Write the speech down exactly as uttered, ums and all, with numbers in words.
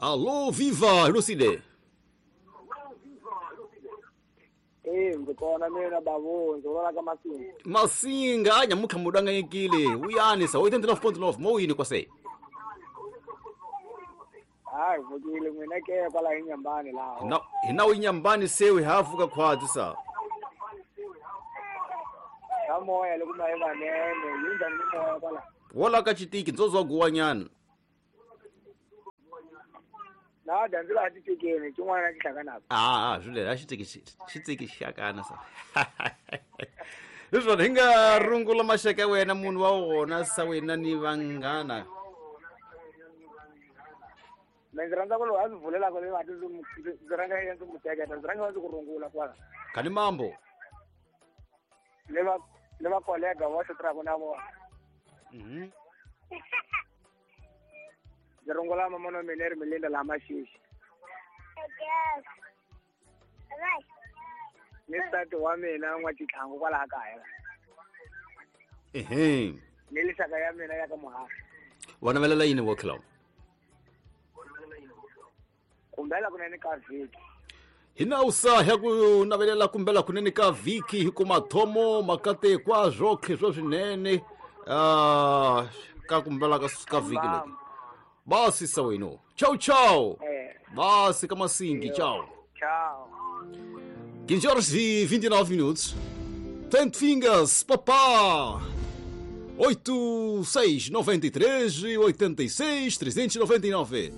Alô, viva, Lucide. Eh, ndzi kona mina babu, ndzi vona ka Masinga. Masinga, anya mukha mudanga yekile. Uyani sa oitenta e nove ponto nove, mo yini kwase. Hayi, vukile mina ke kwala inyambani laho. Na hina inyambani sewe hafuka khwatsi sa. Ka moya loko ma evanene, yinjani moya kwala. Wola ka chitiki ndzozwa guwanyana. Na ndzi la titikeni tin'wana ti hlanganaka. Ah, ah, swile a xitiki xitiki xakana sa. Leswi hi nga rungula maxaka ya wena munhu wa wona sa wena ni vanghana. Mina ndzi rhandza ku loyi a ndzi vulelaka leyi va ndzi ndzi rhanga ndzi n'wi teketa ndzi rhanga ndzi ku rungula kwala. Khani mambo. Le va le va kolega va xitirhaka na vona. Mhm. Ndzi rungula mama na mina ri Melinda laha Maxixi. Ni nsati wa mina N'wa-Xitlhangu kwalaha kaya. Ehe. Ni lixaka ya mina ya ka Muhasha. Wa navelela yini wo Clown? Kumbela kunene ka vhiki. Hina usa ya ku navelela kumbela kunene ka vhiki hi ku mathomo makatekwa zwotlhe swo swinene ah ka kumbela ka ka vhiki leti. Basi sa weno. Ciao ciao. Eh. Basi ka Masingi, ciao. Ciao. quinze horas e vinte e nove minutos. Ten Fingers, papá. oito, seis, noventa e três, oitenta e seis, trezentos e noventa e nove.